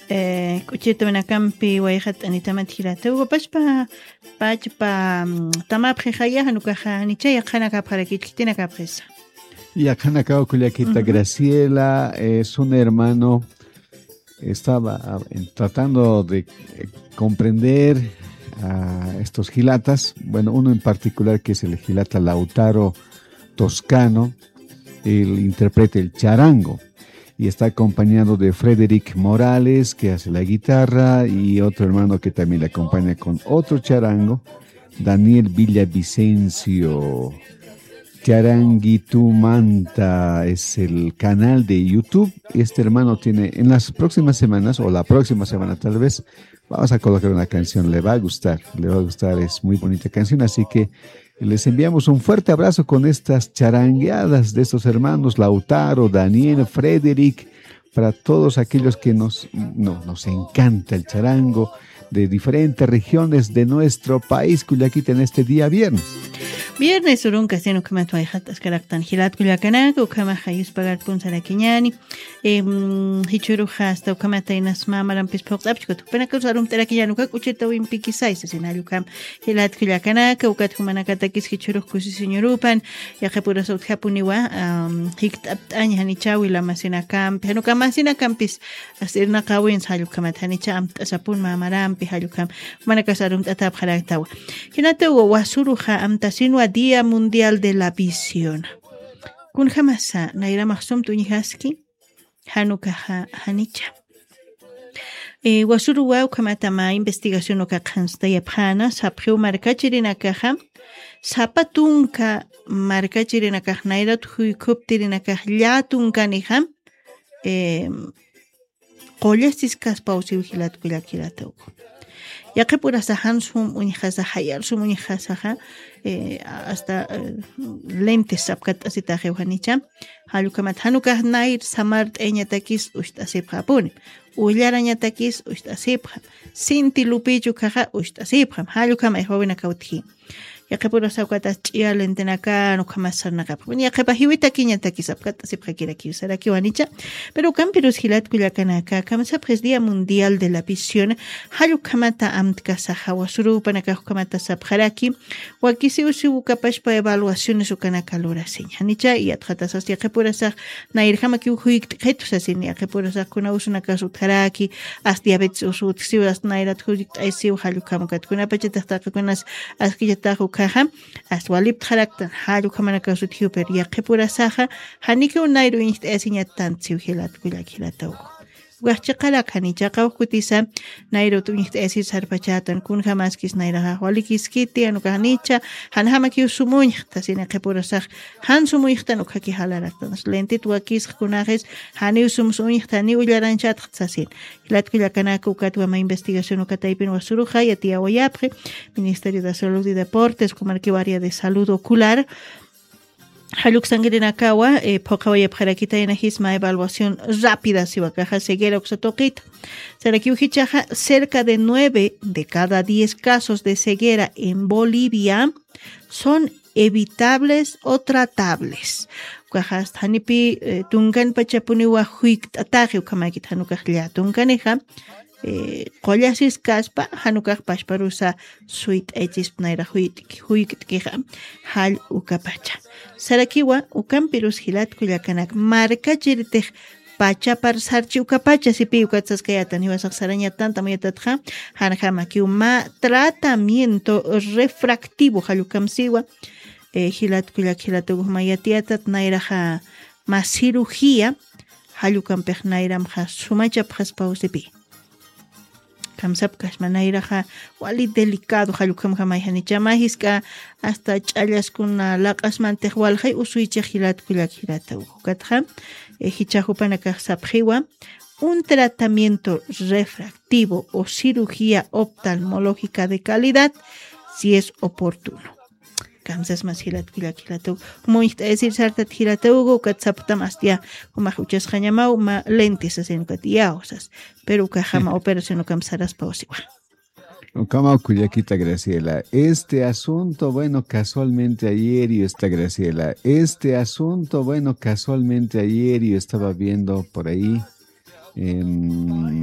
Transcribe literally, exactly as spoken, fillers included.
Eh, k'uchirtawinakampi wayqat t'anitamat jilata. Ugo pachpa, pachpa, mm, tamapxixaya, janukaxa, janicha yaqhanakapxarakich, khitinakapxisa. Yaqhanakaw kullakita Ujú. Graciela, eh, es un hermano, estaba, ah, en- tratando de, eh, comprender a estos jilatas. Bueno, uno en particular que es el jilata Lautaro Toscano, él interpreta el charango y está acompañado de Frederick Morales, que hace la guitarra, y otro hermano que también le acompaña con otro charango, Daniel Villavicencio. Charanguitumanta es el canal de YouTube. Este hermano tiene, en las próximas semanas, o la próxima semana tal vez, vamos a colocar una canción. Le va a gustar, le va a gustar. Es muy bonita canción, así que les enviamos un fuerte abrazo con estas charangueadas de estos hermanos Lautaro, Daniel, Frederick, para todos aquellos que nos, no, nos encanta el charango de diferentes regiones de nuestro país, kullakita, en este día viernes. Viernes urunka, sino que me atoy jatas caractan jilat kullakanaka, ukama jayus pagar punzara kiñani. Em, jichuruxa hasta ukamata inas mamarampis phuqt'apchkut. Jupanakarus arumt'arakiñan uka k'uchita wimpikisaysa, sin jallukam jilat kullakanaka, ukat jumanakatakis jichurux kusisiñurupan, yaqhipurasa utjapuniwa, am, jikt'apt'añ janicha wila masinakampi, januka masinakampis, hasta irnaqawins jallukamat janicha amt'asapun mamarampi jallukam, jumanakas arumt'atapxaraktawa. Jinata ugo wasuruxa amtasinwa Día Mundial de la Visión. Kunjamasa, nayramax sumt'uñjaski, janukaxa janicha. Eh, wasuruwa ukhamatama investigación uka qhanstayapxana, sapxiw markachirinakaxa, sapa tunka markachirinakax nayrat juykuptirinakax llätunkanixa, em, qullasiskas pawsiw jilat kullak jilata ugo. Yaqhipurasa jan sum uñjasa, jayar sum uñjasaxa, eh, hasta, eh, lentes sapkatt'asitaxiw janicha. Jallukamat janukax nayr samart'ayañatakis ucht'asipxapuni. Ullarañatakis ucht'asipxam. Sinti lupichu kaxa ucht'asipxam. Jallukamay jawinakawtji. Yaqhipurasa ukatas ch'iya lentenakan ukhamas sarnaqapxam. Yaqhipa jiwitakiñatakis apkatt'asipxakirakiw sarakiw janicha. Pero ukampirus jilat kullakanaka, kamsapxis Día Mundial de la Visión, jallukhamata amtkasaxa, wasurupanakax ukhamata sapxaraki, wakisiw siw ukapachpa evaluaciones ukanaka lurasiñ. Janicha, yatxatasas yaqhipurasax, nayrjamakiw juykt'khitu sasin, yaqhipurasax kuna usunakas utjaraki, as diabetes usu utjsiw, as nayrat juykt'aysiw, jallukham ukat kunapachatix taqikunas askillatax ukhaxa, as waliptxaraktan, jallukhamanakax utjiw, pero yaqhipurasaxa, janikiw nayru uñjt'ayasiñattantsiw jilat kullak jilata ugo. Ukax chiqarak janicha, qawkutisa, nayrut uñjt'ayasir sarpachatan, kunjamaskis nayraxax walikiskiti, jan ukax janicha, janjamakiw sum uñjta, sina qhipurasax, jan sum uñjtan ukhaki jalaraktan. Lentit wakisx kunaxis, janiw sum uñjta, ni ullaranchatax sasin. Jilat kullakanaka ukatwa mä investigación uka taypin wasuruxa, yatiyawayapxi, Ministerio de Salud y Deportes, kumarkiw área de salud ocular, jalluksankirinakawa, eh, phuqhawayapxarakitayna jisma evaluación rápida siwa kaxa ceguera uksa tuqita. Sarakiw jichhaxa, cerca de nueve de cada diez casos de ceguera en Bolivia son evitables o tratables. Ukaxa janipi, eh, tunkanpachapuniwa juykt'ataxi, ukhamakit jan ukax llätunkanixa, eh, qullasiskaspa, jan ukax pachparusa suyt'aychispa nayra juyt'ki, juykt'kixa, jall ukapacha. Sarakiwa, ukampirus jilat kullakanak, markachiritix pachapar sarchi ukapacha, sipi ukat saskayatan, jiwasax sarañatanta muyatatxa, janjamakiw mä tratamiento refractivo, jall ukham siwa, eh, jilat kullak, jilat uguxma yatiyatat, nayraxa mä cirugía, jall ukampix nayramxa sumachapxaspaw sipi. Kamsapkasma nayraxa wali delicado, jall ukhamjamay janicha mä jisk'a hasta ch'allaskuna laq'asmantix walxay usuychix jilat kullak jilata ukatxa, eh, jichhax jupanakax sapxiwa, un tratamiento refractivo o cirugía oftalmológica de calidad, si es oportuno. Kamsasmas jilat kullak jilata ugu. Muñjt'ayasir sartat jilata ugu, ukat saptam astiya, jumax uchasxañamaw, mä lentes sasin ukat iyawsas. Pero ukaxama operación ukam saraspa usiwa. Ukamaw kullakita Graciela. Este asunto, bueno, casualmente ayer yo está Graciela. Este asunto, bueno, casualmente ayer yo estaba viendo por ahí en